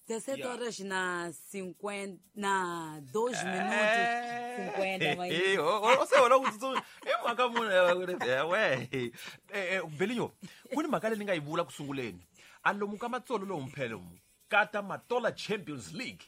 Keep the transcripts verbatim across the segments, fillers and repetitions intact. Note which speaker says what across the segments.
Speaker 1: dezessete horas na cinquenta na dois minutos cinquenta mas
Speaker 2: se wona ku tsutsuma i mhaka munhu we Belinyo ku ni mhaka leyi ni nga yi vula ku sunguleni a lomu ka matsolo lowu mphele mu kata Matola Champions League.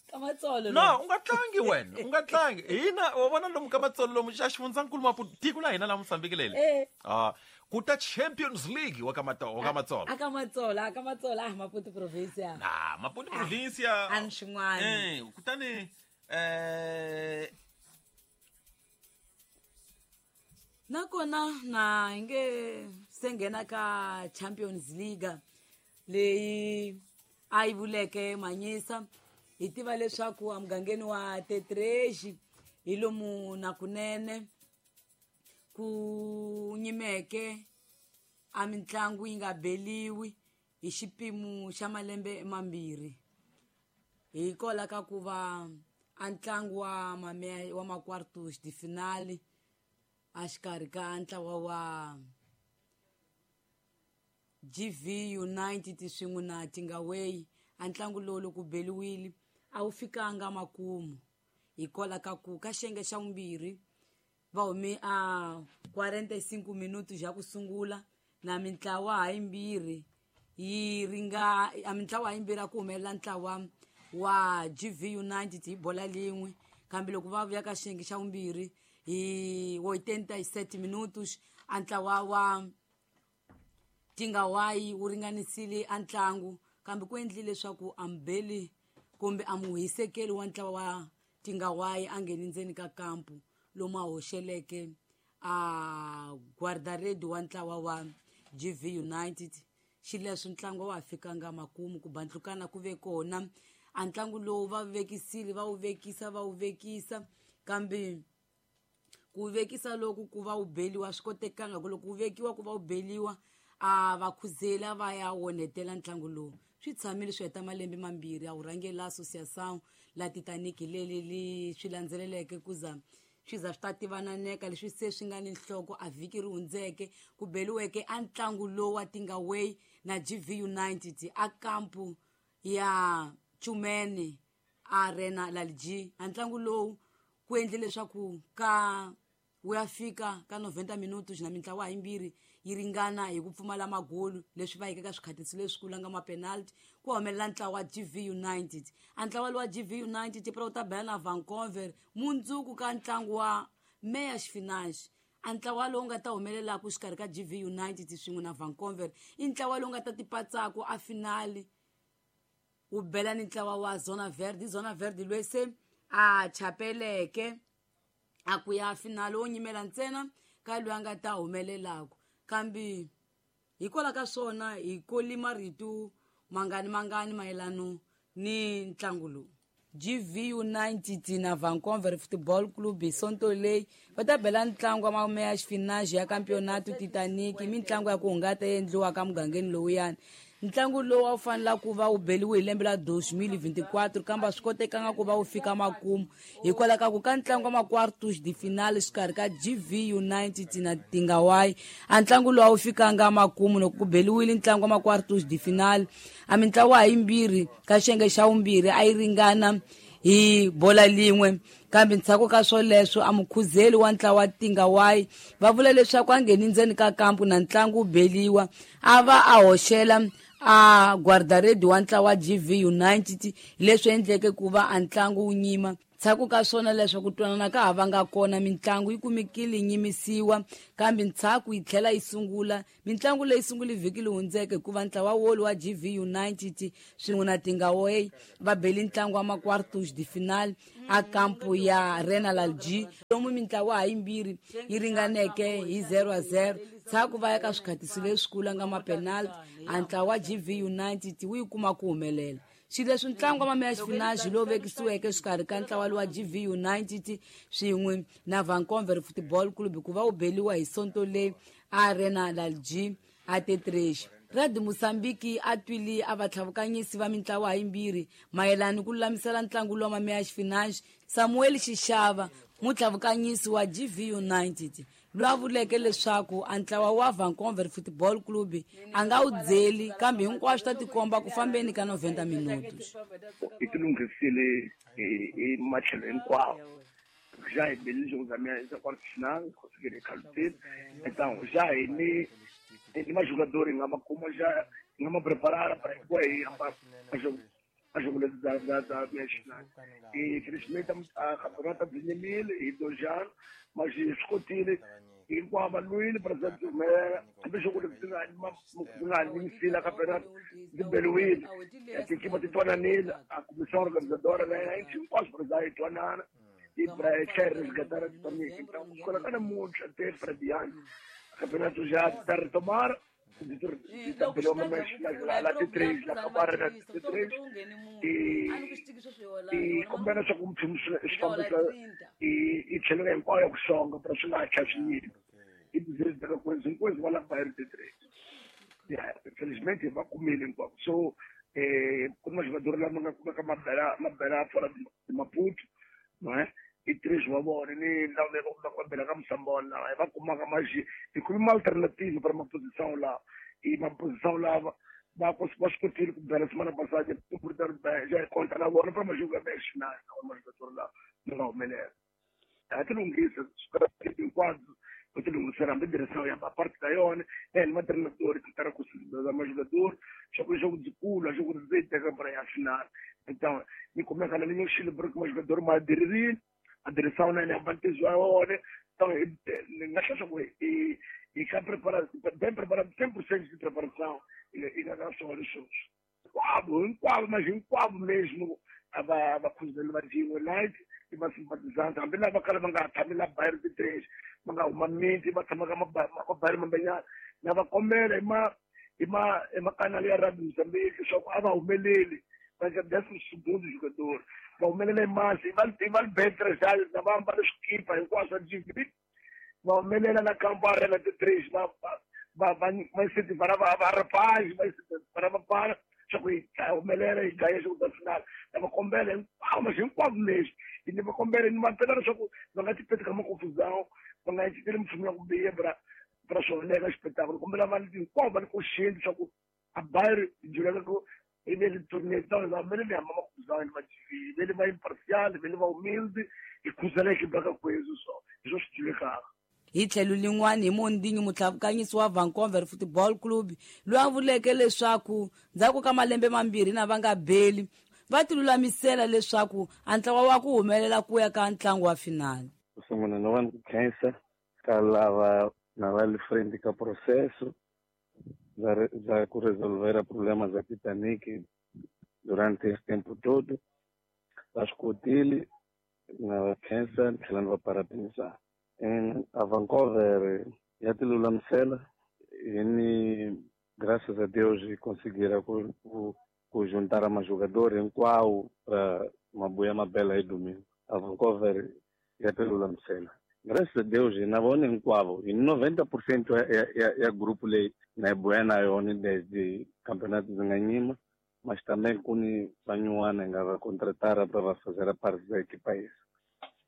Speaker 1: Ka matsolo
Speaker 2: no u nga tlangi wena u nga tlangi hina wa vona lomu ka matsolo lomu xa xifundzankulu Maputo tiko la hina la Mozambique leli ah ku ta Champions League wa ka Matsolo wa ka Matsolo
Speaker 1: aka Matsolo aka Matsolo ah Maputo provincia
Speaker 2: na Maputo provincia
Speaker 1: an xin'wana
Speaker 2: eh kutani eh
Speaker 1: nakona na nge se nghena ka Champions League leyi a yi vuleke Manyisa hi tiva leswaku emugangeni wa Tetreji hi lomu na kunene ku nyimeke a mitlangu yi nga beliwi hi xipimo xa malembe mambirhi hikwalaho ka ku va a ntlangu wa mame wa ma-quartos de finale a xikarhi ka ntlawa wa G V United swin'we na Tingaway a ntlangu lowu loko beliwile a wu fikanga makumu hikwalaho ka ku ka xiyenge xa vumbirhi va hume a quarenta e cinco minutos ya ku sungula na mintlawa hayimbirhi yi ringa a mintlawa hayimbirhi a ku humelela ntlawa wa G V United hi bola lin'we kambe loko va vuya ka xiyenge xa vumbirhi hi oitenta e sete minutos a ntlawa wa Tingawai wu ringanisile a ntlangu kambe ku endlile leswaku ambeli kumbe a muhisekeli wa ntlawa wa Tingawai a ngheni ndzeni ka kampu lomu a hoxeleke a guarda-rede wa ntlawa wa G V United xileswi ntlangu wa fikanga makumu ku bandlukana ku ve kona a ntlangu lowu va vekisile va wu vekisa va wu vekisa kambe ku vekisa loku ku va wu beliwa swi kotekanga ku loko wu vekiwa ku va wu beliwa a va khuzela va ya onhetela ntlangu lowu swi tshamile swi heta malembe mambirhi a wu rhangela Associação la Titanic leli li swi landzeleleke ku za swi za swi ta tivananeka leswi se swi nga ni nhloko a vhiki ri hundzeke ku beliweke a ntlangu lowu wa Tingaway na G V United a kampu ya Chumene Arena Lalji a ntlangu lowu ku endle leswaku ka wu ya fika ka noventa minutos na mintlawa hayimbirhi yi ringana hi ku pfumala magolu leswi va yeke ka swikhatisi leswikulu nga ma-penalty ku humelela ntlawa wa G V United a ntlawa lowa G V United pra wu ta bela na Vancouver mundzuku ka ntlangu wa meias finais a ntlawa lowu nga ta humelelaku xikarhi ka G V United swin'we na Vancouver i ntlawa lowu nga ta tipatsaku a finali wu bela ni ntlawa wa Zona Verde Zona Verde loyi se a chapeleke a ku ya finali wo nyimela ntsena ka loyi a nga ta humelelaku kambe hikwalaho ka swona hi koli marito mangani mangani mayelano ni ntlangu lowu G V United na Vancouver Football Club hi sonto leyi va ta bela ntlangu wa meias finais ya Campeonato Titanic i mitlangu ya ku hungata yi endliwaka mugangeni lowuyani ntlangu lowu a wu fanela ku va wu beliwe hi lembe la dois mil e vinte e quatro kambe a swi kotekanga ku va wu fika makumu hikwalaho ka ku ka ntlangu wa ma-quartos de finale xikarhi ka G V United na Tingawai a ntlangu lowu a wu fikanga makumu loko ku beliwile ntlangu wa ma-quartos de finale a mintlawa hayimbirhi ka xiyenge xa vumbirhi a yi ringana hi bola lin'we kambe ndzhaku ka swoleswo a mukhuzeli wa ntlawa wa Tingawai va vula leswaku a ngheni ndzeni ka kampu na ntlangu wu beliwa a va a hoxela a guarda-rede wa ntlawa wa G V United leswi endleke ku va a ntlangu wu nyima ndzhaku ka swona leswaku twanana ka ha vanga kona mitlangu yi kumekile yi nyimisiwa kambe ndzhaku yi tlhela yi sungula mitlangu leyi sungule vhiki leyi hundzeke hikuva ntlawa wolu wa G V United swin'we na Tingaway va beli ntlangu wa ma-quartos de finale a kampu ya Arena Lalji lomu mintlawa hayimbirhi yi ringaneke hi zero a zero ndzhaku va ya ka swikhatisi leswikulu nga ma-penalty a ntlawa wa G V United wu yi kuma ku humelela xileswi ntlangu wa meias finais lowu vekisiweke xikarhi ka ntlawa lowa G V United swin'we na Vancouver Football Club ku va wu beliwa hi sonto leyi Arena Lalji a Tetreji Radio Mozambique a twile a vatlhavukanyisi va mintlawa hayimbirhi mayelana ku lulamisela ntlangu lowa meias finais Samuel Xixava mutlhavukanyisi wa G V United loyi a vuleke leswaku a ntlawa wa Vancouver Football Club a nga wu dzeli kambe hinkwaswo ta tikomba ku fambeni ka noventa minutos.
Speaker 3: Hi tilunghisile hi matlhelo hinkwawo. Já hi belile jogo da minha quarta final, consegui calcular. Então, já ni ni mais jogador em uma como já não me preparar para ir a jogo a jogo da da da minha final. E infelizmente a campeonato de mil e dois anos, mas escutile hinkwavo va lwile president Zuma hambi jogo leri nga nga ni campeonato de beliwile tikipa ti twananile a comissão organizadora na a gente hinkwaswo president yi twanana e para quer resgatar a Titanic. Então colocar muito até para diante o campeonato já está a retomar la T três, la acabar na T três e e combina só com e e tlhela hinkwayo ku xonga para swi nga ha chavinyini i dizer da coisa coisa vai lá para T três. Yeah, infelizmente va kumile hinkwako. So eh ku na jogador lama nga kumeka mabela mabela fora de Maputo, não é? E três wa vona ni lava va ku bela ka Musambona va kumaka mas hi kume uma alternativa para uma posição lá e uma posição lá va va swi kotile ku bela semana passada já conta na vona para jogar bem final uma jogador lá não nga humelela. A ti lunghisa hinkwabyo u ti lunghisela hambi direção ya parte da yona é ma treinador que tá conseguindo mais jogador só que jogo de culo jogo de teka para a final. Então ni kumeka na linha Chile porque mais jogador mais diririr a direção na né bantezwa então na chance e e cá preparado bem preparado cem por cento de preparação e e na só os quabo quabo mas em quabo mesmo a ba coisa do Brasil night e ba simpatizante hambi lava kala va nga tshami la bayri ti três va nga huma miti va tshama ka mabayri mambanyana na va kombela hi ma hi ma hi makanali ya Radio Mozambique leswaku a va humeleli va nga décimo segundo jogador va humelela hi masi va va betre já na va ambala swikipa hinkwaswo G V va humelela na kampo arena ti três va va va va incentivara va va rapaz va incentivara va para só que humelela hi gaya jogo da final na va kombela hinkwavo mas hinkwavo leswi ni va kombela ni va pela leswaku va nga ti peti ka maconfusão va nga inciteli mfumo ya ku biha pra pra swoneka espetáculo kombela vanhu hinkwavo va ni consciente leswaku a bayri juleka ku i ve le tournée então va vele ni hamba maconfusão ni va G V vele va imparcial vele va humilde hi khuzela equipe ka kwezo so hi swo swi tivekaka.
Speaker 1: Hi tlhelo lin'wana hi Mondingi mutlhavukanyisi wa Vancouver Football Club loyi a vuleke leswaku ndzhaku ka malembe mambirhi na va nga beli va tilulamisela leswaku a ntlawa wa ku humelela ku ya ka ntlangu wa final.
Speaker 4: Ku sungula na va ku khensa ka lava na va le frente ka processo za za ku resolver a problema za Titanic durante esse tempo todo. Va swi kotile na va khensa ni tlhela ni va parabenizar. Em a Vancouver ya ti lulamisela e ni graças a Deus conseguiram ku, ku, ku juntar mais jogadores hinkwavo para mabuya mabela aí domingo. A Vancouver ya ti lulamisela. Graças a Deus na vona hinkwavo hi noventa por cento ya, ya, ya grupo leyi na yi buya na yona desde campeonato ndzi nga nyima, mas também ku ni vanyuwana hi nga va contratara para va fazer a parte da equipa essa.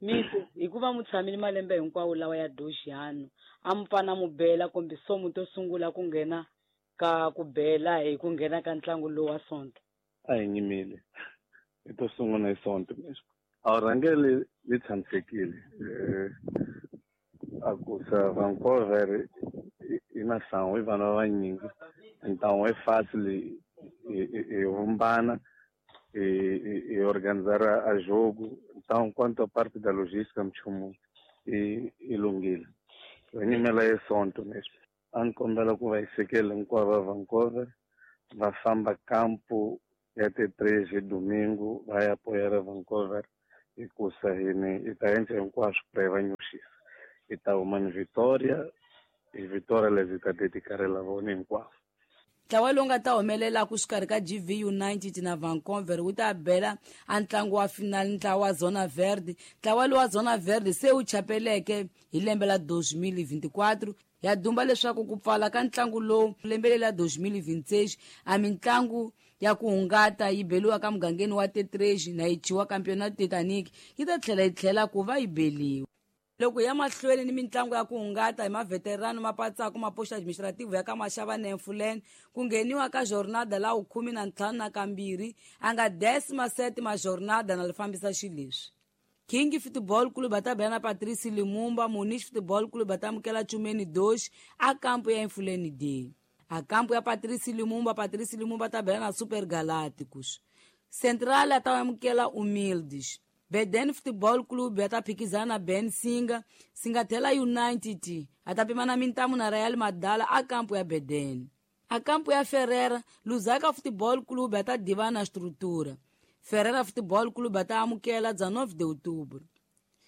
Speaker 1: Miko hikuva mu tshamile malembe hinkwawo lawa ya doxano a mu pfana mu bela kumbe somu to sungula ku nghena ka ku bela hi ku nghena ka ntlangu lowu wa Sonto.
Speaker 4: A hi nyimile hi to sungula hi Sonto mesmo. A rhangeli li tshamisekile a ku sa Vancouver i na sangu i vanhu va vanyingi então é fácil hi vumbana e, e organizar a, a jogo. Então, quanto à parte da logística, nchumu e e lunghile. Nyimela hi Sonto mesmo. A ni kombela ku va hi sekela hinkwavo va Vancouver va famba campo ya T três hi domingo va ya apoiar a Vancouver hikusa hini hi ta endla hinkwaswo ku hi va nyuxisa. Hi ta huma ni Vitória, hi Vitória lezi hi ta dedicarela vona hinkwavo.
Speaker 1: Ntlawa lowu nga ta humelela ku xikarhi ka G V United na Vancouver wu ta bela a ntlangu wa final ntlawa wa Zona Verde. Ntlawa lowu wa Zona Verde se wu chapeleke hi lembe la dois mil e vinte e quatro ya dumba leswaku ku pfala ka ntlangu lowu lembe lela dois mil e vinte e seis a mintlangu ya ku hungata yi beliwa ka mugangeni wa T três na yi chiwa Campeonato Titanic yi ta tlhela yi tlhela ku va yi beliwa. Loko ya mahlweni ni mitlangu ya ku hungata hi maveterano mapatsaku maposto administrativo ya ka Mashava na Emfuleni ku ngheniwa ka jornada la khume na ntlhanu na kambirhi a nga décima sétima jornada na li fambisa xileswi. King Football Club va ta bela na Patrice Lumumba, Munish Football Club va ta amukela Chumeni Dosh a kampo ya Emfuleni D. A kampo ya Patrice Lumumba, Patrice Lumumba ta bela na Super Galácticos. Central a ta amukela Humildes. Beden Football Club ya ta phikizana na Ben Singa, Singatela United a ta pimana mintamu na Real Madala a kampo ya Beden. A kampo ya Ferreira, Lusaka Football Club ya ta divana na Estrutura. Ferreira Futebol Clube ta amukela dezenove de outubro.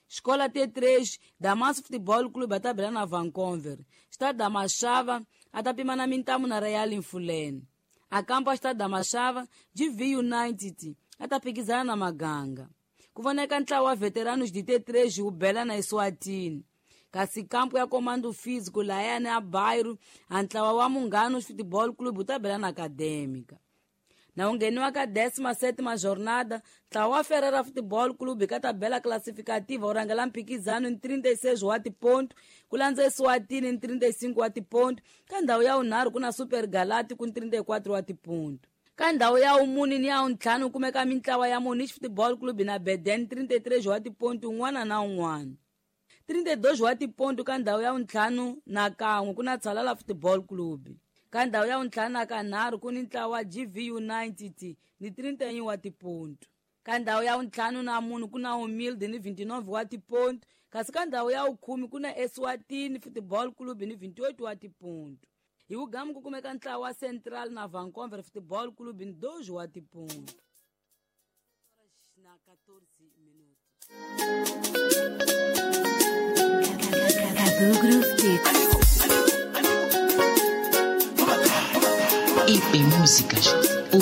Speaker 1: Escola T três, Damasco Futebol Clube ta bela na Vancouver. Estado da Machava, ata pimana mintamu na Real Infulene. A campo Estado da Machava, G V United, ata phikizana na Maganga. Kuvoneka ntlawa wa veteranos de T três o bela na Eswatini. Kasi campo ya Comando Físico Laiane a Bairro, a ntlawa wa Munganos Futebol Clube ta bela na Acadêmica. Na ungheniwa ka décima sétima jornada, ntlawa wa Ferreira Futebol Clube ka tabela classificativa wu rhangela mphikizano ni trinta e seis wa tiponto, ku landza Eswatini ni trinta e cinco wa tiponto, ka ndhawu ya vunharhu ku na Super Galáctico ni trinta e quatro wa tiponto. Ka ndhawu ya vumune ni ya vuntlhanu ku kumeka mintlawa ya Munish Football Club na Beden trinta e três wa tiponto un'wana na un'wana. trinta e dois wa tiponto ka ndhawu ya vuntlhanu na kan'we ku na Tshalala Football Club. Ka ndhawu ya vuntlhanu na kanharhu ku ni ntlawa wa G V United ni trinta e um wa tiponto. Ka ndhawu ya vuntlhanu na mune ku na Humilde ni vinte e nove wa tiponto, kasi ka ndhawu ya vukhume ku na Eswatini Football Club ni vinte e oito wa tiponto. Hi vugamu ku kumeka ntlawa wa Central na Vancouver Football Club ni doze wa tiponto. Na quatorze minutos.
Speaker 5: I P Músicas.